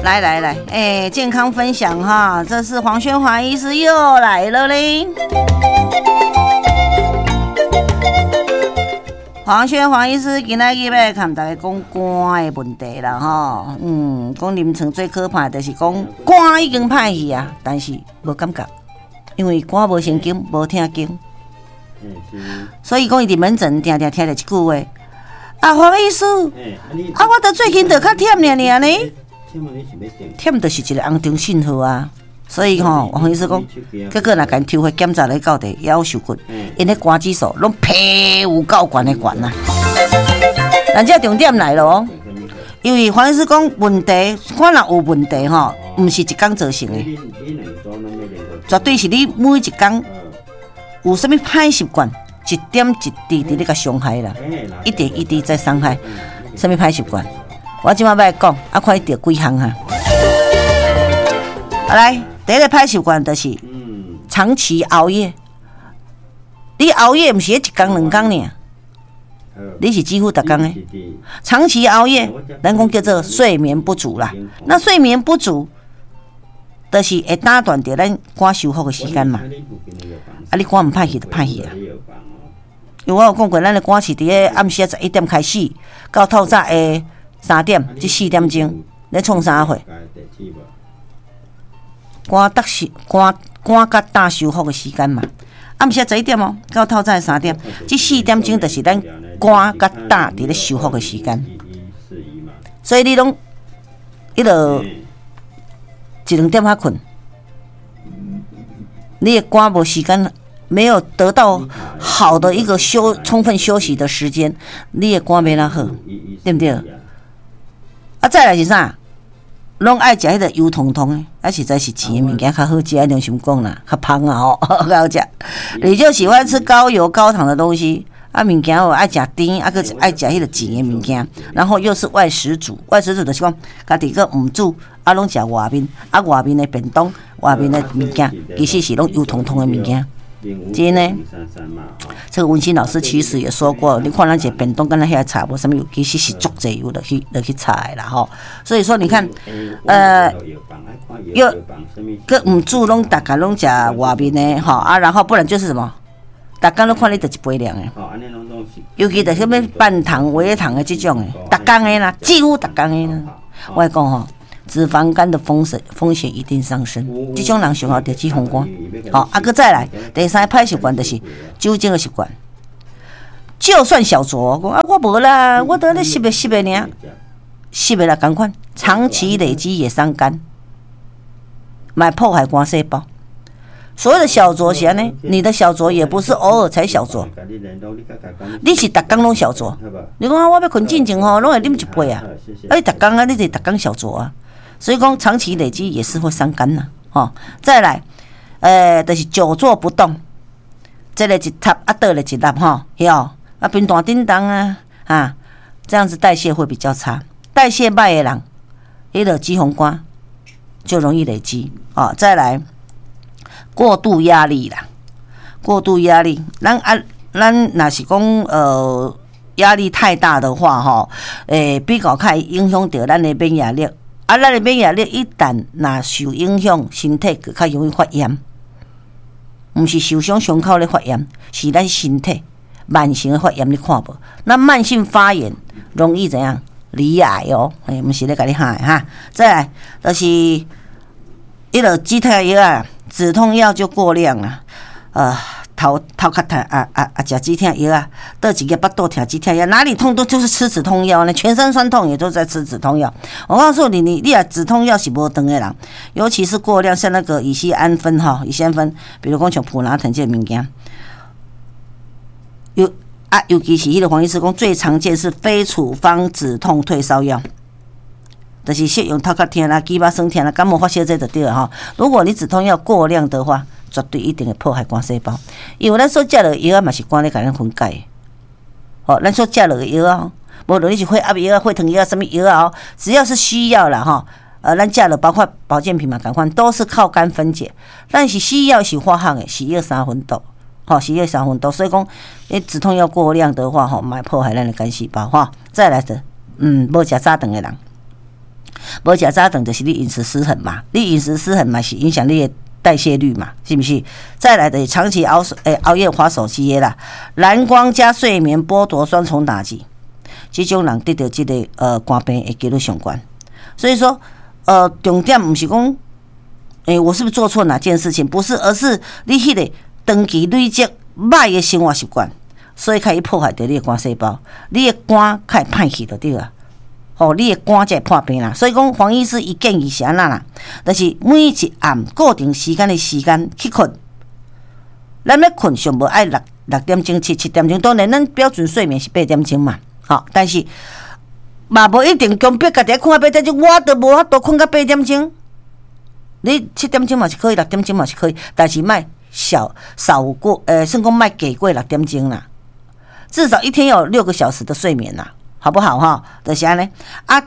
來來來，欸，健康分享哈，這是黃軒華醫師又來了嘞。黃軒華醫師今仔日欲共大家講肝的問題啦吼，講臨床最可怕就是講肝已經歹去啊，但是無感覺，因為肝無神經，無疼經，所以講伊佇門診定定聽著一句話：啊，黃醫師，啊，我著最近著較忝爾爾呢，忝就是一個紅燈信號啊。所以吼，黃醫師講，結果若共抽血檢查咧到底猶受骨，𪜶彼肝指數攏皮有夠懸的懸啊！咱這重點來咯，因為黃醫師講問題，肝若有問題吼，毋是一工造成的，絕對是你每一工有啥物歹習慣，一點一滴佇咧共傷害啦，一點一滴在傷害。啥物歹習慣？我這擺欲來講，啊，看你著幾項哈。來。第一个歹習慣就是長期熬夜。你熬夜毋是一工兩工爾，你是幾乎逐工的。長期熬夜，咱講叫做睡眠不足啦。那睡眠不足，就是會打斷著咱肝修復的時間嘛。啊，你肝毋歹去就歹去啊。因為我有講過，咱的肝是佇咧暗時11點開始，到透早的3點，這4點鐘咧創啥貨？肝得是肝肝佮膽修復的時間嘛，暗時十一點哦，到透早3點，這4點鐘就是咱肝佮膽佇咧修復的時間。所以你攏彼落一兩點才睏，你的肝無時間，沒有得到好的一個充分休息的時間，你的肝欲按怎好，對毋對？啊，再來是啥？攏愛食彼個油彤彤的，啊，實在是甜的物件較好食，良心講啦，較芳啊吼，較好食。你就喜歡吃高油高糖的東西，啊，物件哦愛食甜，啊，閣愛食彼個甜的物件，然後又是外食族，外食族就是講家己閣毋煮，啊，攏食外面，啊，外面的便當、外面的物件，其實是攏油彤彤的物件。真的，這個文心老師其實也說過，你看咱這便當敢若遐炒無啥物油，其實是足濟油落去炒的啦吼。所以說你看，又閣毋煮，攏逐工攏食外面的吼啊，然後不然就是什麼，逐工攏看你就一杯量的，尤其就啥物半糖、微糖的這種的，逐工的啦，幾乎逐工的啦。我講吼，脂肪肝的風險一定上升，這種人上好得脂肪肝。好，啊，閣再來第三個歹習慣就是酒精的習慣。就算小酌，講啊我無啦，我都咧翕的翕的爾，翕的啦仝款，長期累積也傷肝，嘛破壞肝細胞。所謂的小酌是按呢，你的小酌也不是偶爾才小酌，你是逐工攏小酌。你講啊，我欲睏進前吼，攏會啉一杯啊，啊你逐工啊，你就逐工小酌啊。所以講長期累積也是會傷肝呐，吼。再來，就是久坐不動，這個一塌啊，倒咧一粒吼，曉啊，平台叮當啊，啊，這樣子代謝會比較差，代謝歹的人，彼個脂肪肝就容易累積哦。再來，過度壓力啦，過度壓力，咱啊，咱若是講壓力太大的話，吼，比較較會影響著咱的免疫力。啊，咱的免疫力一旦若受影響，身體就較容易發炎。毋是受傷傷口咧發炎，是咱身體慢性的發炎，你看無？那慢性發炎容易怎樣？罹癌哦，欸，毋是咧共你嚇的哈。再來就是彼落止痛藥啊，止痛藥就過量啊，頭殼痛啊啊啊！食止痛藥啊，佗一个腹肚痛止痛藥，哪裡痛都就是吃止痛藥呢，全身痠痛也都在吃止痛藥。我告訴你，你若止痛藥是無斷的人，尤其是過量，像那個乙醯胺酚哈，乙醯胺酚，比如講像普拿疼這個物件，尤其是彼個黃醫師講，最常見是非處方止痛退燒藥。就是適用頭殼痛啦、肌肉酸痛啦、感冒發燒這就對了吼。如果你止痛藥過量的話，絕對一定會破壞肝細胞，因為咱所食落的藥仔嘛是肝咧共咱分解。吼，咱所食落的藥仔，無論你是血壓藥啊、血糖藥啊、啥物藥啊，只要是西藥啦吼，咱食落包括保健品嘛，仝款都是靠肝分解。但是西藥是化學的，是藥三分毒，吼，是藥三分毒。所以講，你止痛藥過量的話，吼，嘛會破壞咱的肝細胞，吼。再來的，無食早頓的人，無食早頓就是你飲食失衡嘛，你飲食失衡嘛是影響你的代謝率嘛，是毋是？再來就是長期熬夜滑手機的啦，藍光加睡眠剝奪雙重打擊，這種人得著這个肝病的幾率上懸。所以說，重點毋是講，我是不是做錯哪件事情？不是，而是你彼个長期累積䆀的生活習慣，所以開始破壞著你的肝細胞，你的肝較會歹去就對啊。吼，你的肝才會破病啦。所以講，黃醫師伊建議是按怎啦？就是每一暗固定時間的時間去睏。咱欲睏上無愛6點鐘7點鐘，當然咱標準睡眠是8點鐘嘛。吼，但是嘛無一定強迫家己睏到八點鐘，我都無法度睏到八點鐘。你七點鐘嘛是可以，六點鐘嘛是可以，但是莫少過，算講莫低過六點鐘啦。至少一天有6個小時的睡眠啦，好不好哈？就是按呢，啊，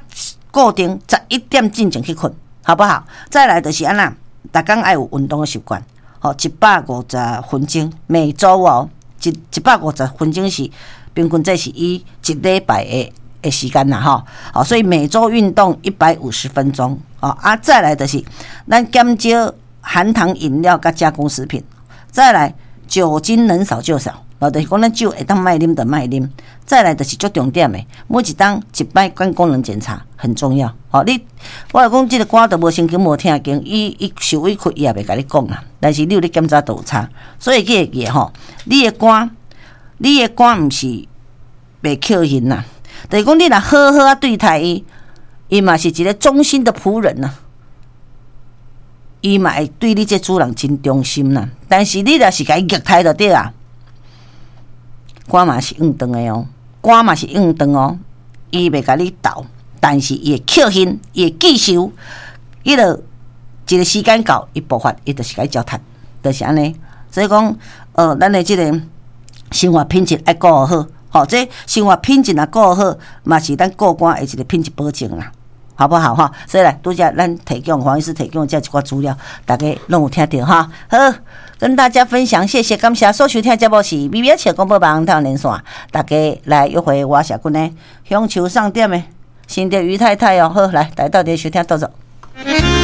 固定11點進前去睏，好不好？再來就是按怎，逐工愛有運動的習慣，吼，150分鐘，每週哦，150分鐘是平均這是以一禮拜的時間啦，吼，好，所以每週運動一百五十分鐘，哦，啊，再來就是咱減少含糖飲料佮加工食品，再來酒精能少就少。哦，就是講咱酒會當莫啉就莫啉，再來就是足重點的，每一冬一擺肝功能檢查很重要。吼，我來講這个肝都無神經無聽經，伊受委屈伊也袂共你講啦。但是你有咧檢查都有差，所以記會記吼，你的肝毋是袂扣人啦，就是講你若好好啊對待伊，伊嘛是一个忠心的僕人呐。伊嘛會對你這主人真忠心啦。但是你若是共伊虐待就對啊。肝嘛是硬斷的哦，肝嘛是硬斷哦，伊袂共你鬥，但是伊會扣恨，伊會記仇，伊就一个時間到，伊爆發，伊就是共你糟蹋，就是按呢。所以講，咱的這个生活品質愛顧好，吼，這生活品質若顧好，嘛是咱顧肝的一个品質保證啦，好不好哈？所以來，拄才咱提供黃醫師提供這一寡資料，大家攏有聽著哈。好，跟大家分享，謝謝，感謝所收聽節目是微微笑廣播網台連線，大家來約會我社群的香樹送點的新竹余太太哦，好，來，大家鬥陣收聽，多謝。